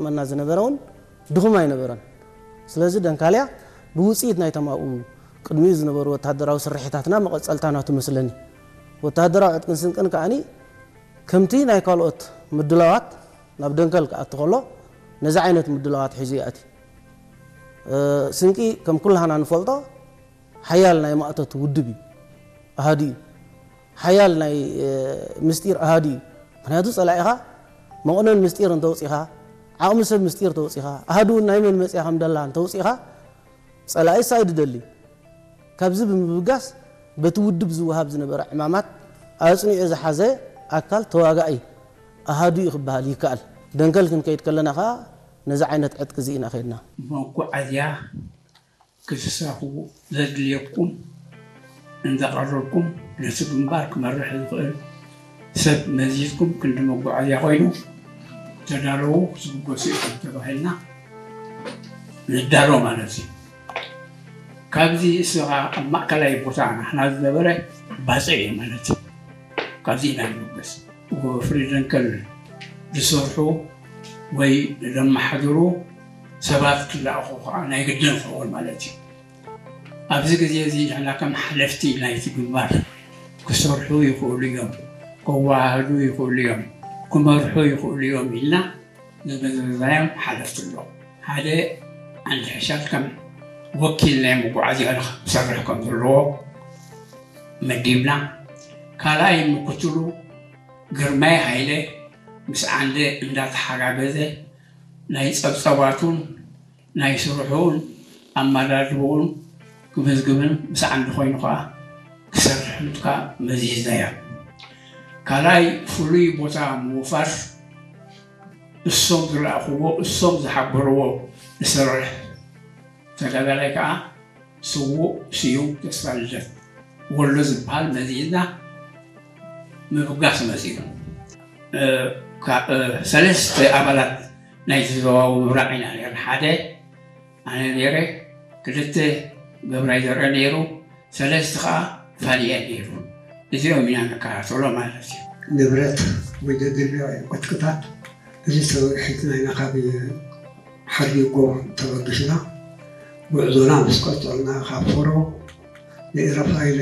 መና ዝነበረ እውን ድኹም ኣይነበረን። ስለዚ ደንካልያ ብውፅኢት ናይቶም ኣብኡ ቅድሚኡ ዝነበሩ ወተሃደራዊ ስርሒታትና መቐፀልታ ናቱ መስለኒ። ወተሃደራዊ ዕጥቅን ስንቅን ከዓኒ ከምቲ ናይ ካልኦት ምድላዋት ናብ ደንከል ክኣቱ ከሎ ነዚ ዓይነት ምድላዋት ሒዙ ይኣቲ። ስንቂ ከም ኩላህና ንፈልጦ ሓያል ናይ ማእቶት ውድብ እዩ፣ ኣሃዱ እዩ። ሓያል ናይ ምስጢር ኣሃዱ እዩ። ምክንያቱ ፀላኢኻ መቕነን ምስጢር እንተውፂኻ፣ ዓቕሚ ሰብ ምስጢር ተውፂኻ፣ ኣሃዱ ናይ መን መፅያ ከም ደላ እንተውፂኻ፣ ፀላኢ ሳይድ ደሊ ካብዚ ብምብጋስ በቲ ውድብ ዝወሃብ ዝነበረ ዕማማት ኣጽኒዑ ዝሓዘ ኣካል ተዋጋኢ ኣሃዱ እዩ ክበሃል ይከኣል። ደንከል ክንከይድ ከለና ከኣ ነዚ ዓይነት ዕጥቂ እዚ ኢና ከይድና። መጓዓዝያ ክትሳኽቡ ዘድልየኩም እንዳቐረብኩም ነቲ ግንባር ክመርሕ ዝኽእል ሰብ መዚዝኩም ክንዲ መጓዓዝያ ኮይኑ ተዳለዉ ክትብገሱ ኢኹም ተባሂልና ንዳሎ ማለት እዩ። ካብዚ እስኻ ኣብ ማእከላይ ቦታ ናሕና ዝነበረ ባጽዕ እዩ ማለት እዩ። ካብዚ ኢና ንብገስ። ወፍሪ ደንከል ዝሰርሑ ወይ ዘመሓድሩ ሰባት ክለኣኹ ከዓ ናይ ግድን ክኸውን ማለት እዩ። ኣብዚ ግዜ እዚ ንሕና ከም ሓለፍቲ ናይቲ ግንባር ክሰርሑ ይኽእሉ እዮም፣ ከወሃህዱ ይኽእሉ እዮም፣ ክመርሑ ይኽእሉ እዮም ኢልና ዝመዘዝናዮም ሓለፍቲ ኣለዉ። ሓደ ዓንዲ ሕሻል ከም ወኪል ናይ መጓዓዝያ ክሰርሕ ከም ዘለዎ መዲብና፣ ካልኣይ ምክትሉ ግርማይ ሃይለ ምስ ዓንደ እንዳተሓጋገዘ ናይ ጸብጸባቱን ናይ ስርሑን ኣመዳድብኡን ክምዝግብን ምስ ዓንዲ ኮይኑ ከኣ ክሰርሕን ከኣ መዚዝናዮ። ካልኣይ ፍሉይ ቦታ ምውፋር እሶም ዝለኣኽዎ እሶም ዝሓበርዎ ዝሰርሕ ተጋዳላይ ከኣ ስዉእ ስዩም ተስፋልደት ወሎ ዝበሃል መዚዝና ምብጋስ መጺኡ። እ፣ ካ-፣ እ፣ ሰለስተ ኣባላት ናይቲ ዞባዊ ምብራቕ ኢና ነርና። ሓደ ኣነ ነይረ፣ ክልተ ገብራይ ዘርአ ነይሩ፣ ሰለስተ ኸዓ ፋኒኤል ነይሩ። እዚኦም ኢና ንከታተሎ ማለት እዩ። ንብረት ወይ ዘድልዮ ዕጥቅታት እዚ ተወግሒት ናይና ካብ ሓርቢጎ ተበጊስና ጉዕዞና ምስ ቀጸልና ካብ ፎሮ ንኤረፋይለ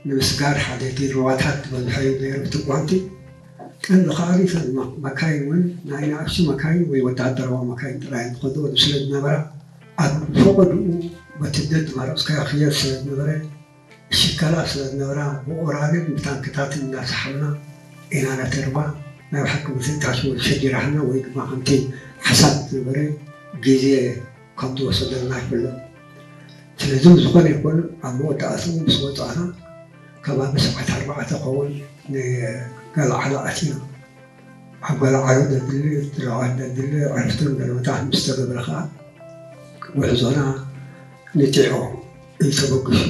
ንምስጋር ሓደ ዲርባታት ዝበዝሐ እዩ ነይሩ እቲ ጓንቲ። ቀንዲ ከኣ እተን መ-፣ መካይን እውን ናይ ንኣሽቱ መካይን ወይ ወተሃደራዊ መካይን ጥራይ ዝኸዱ ስለ ዝነበራ ኣብ ፈቐድኡ በቲ ደድ ማረፅካዮ ክየድ ስለ ዝነበረ ሽከላ ስለ ዝነበራ ብኦራልን ብታንክታትን እናሰሓብና ኢና ነቲ ርባ ናይ ብሓቂ ብትንታሽ ወይ ሸጊራህና ወይ ድማ ከምቲ ሓሳብ ዝነበረ ግዜ ከም ዝወሰደልና ይፍለጥ። ስለዚ ዝኾነ ይኹን ኣብ መወዳእትኡ ምስ ወፃእና ከባቢ ሰዓት ኣርባዕተ ኸውን ንገለዓሎ ኣቲና። ኣብ ገለዓሎ ዘድሊ ትለዋት ዘድሊ ዕረፍትን ገለመታት ምስ ተገብረ ከዓ ጉዕዞና ንጢዖ እዩ ተበግሱ።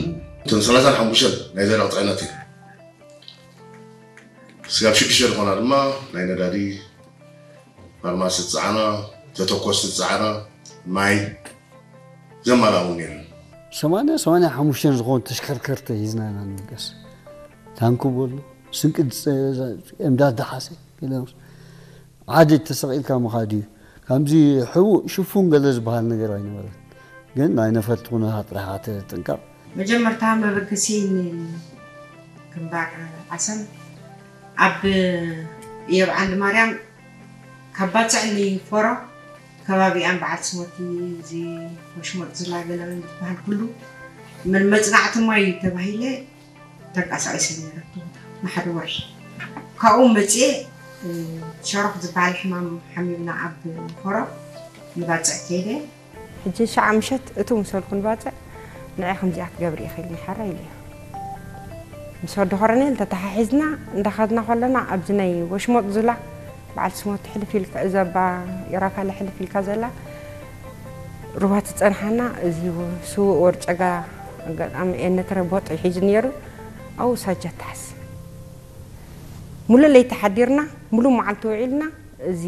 እተን ሰላሳን ሓሙሽተን ናይ ዘደቕ ፅዕነት እዩ። ስጋብ ሽዱሽተ ዝኾና ድማ ናይ ነዳዲ ፋርማሲ ዝፀዓና፣ ተተኮስቲ ዝፀዓና፣ ማይ ዘማላኡ ነይሩ። ሰማንያ ሰማንያ ሓሙሽተ ዝኾኑ ተሽከርከርቲ ሒዝና ኢና ንብገስ። ታንኪ በሉ፣ ስንቂ ዝፀ-፣ እምዳድ ደሓሰ፣ ገለ ዓዲ ተሰቒልካ ምኻድ እዩ። ከምዚ ሕቡእ ሽፉን ገለ ዝበሃል ነገር ኣይነበረን። ግን ናይ ነፈርቲ ኩነታት ጥራሕ ትጥንቀቕ። መጀመርታ መበገሲ ንግንባር ዓሰብ ኣብ እዮብ ዓንዲ ማርያም ካብ ባጽዕ ንፎሮ ከባቢኣን በዓል ስሞቲ እዚ ወሽሞጥ ዝላገለ ዝበሃል ኩሉ መን መጽናዕቲ ማይ ተባሂለ ተንቀሳቒሰ ነይረ። ንሓደ ወርሒ ካብኡ መጽኤ፣ እ፣ ሸሮኽ ዝበሃል ሕማም ሓሚምና ኣብ ፎሮ ንባጽዕ ከይደ። ሕጂ ሸዓ ምሸት እቱ ምስ በልኩ ንባጽዕ ንዒ ከምዚኣ ክትገብሪ ኢኺ ኢልኒ ሓራ ኢለዮ። ምስ ወዲ ኮረኔል ተተሓሒዝና እንዳኸድና ከለና ኣብዚ ናይ ወሽሞጥ ዙላ በዓል ስሞቲ ሕልፍ ኢልካ፣ እዛ ባ ኢራፋለ ሕልፍ ኢልካ ዘላ ሩባ ትጸንሓና። እዚ ስዉእ ወርጨጋ ኣጋጣሚ ኤነትረ ቦጥ ሒዙ ነይሩ። ኣብኡ ሳጃ ተሓዝ። ሙሉ ለይቲ ሓዲርና፣ ሙሉ መዓልቲ ውዒልና። እዚ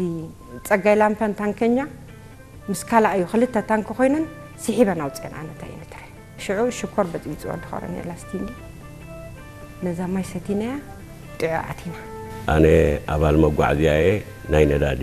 ጸጋይ ላምፐን ታንከኛ ምስ ካልኣዩ ክልተ ታንኪ ኮይነን ስሒበን ኣውፅአን ኣነታ ኤነትረ። ሽዑ ሽኮር በጥቢፅዎ ድኾረን ላስቲንዲ ነዛ ማይ ሰቲናያ ጥዑ ኣቲና። ኣነ ኣባል መጓዓዝያ እየ፣ ናይ ነዳዲ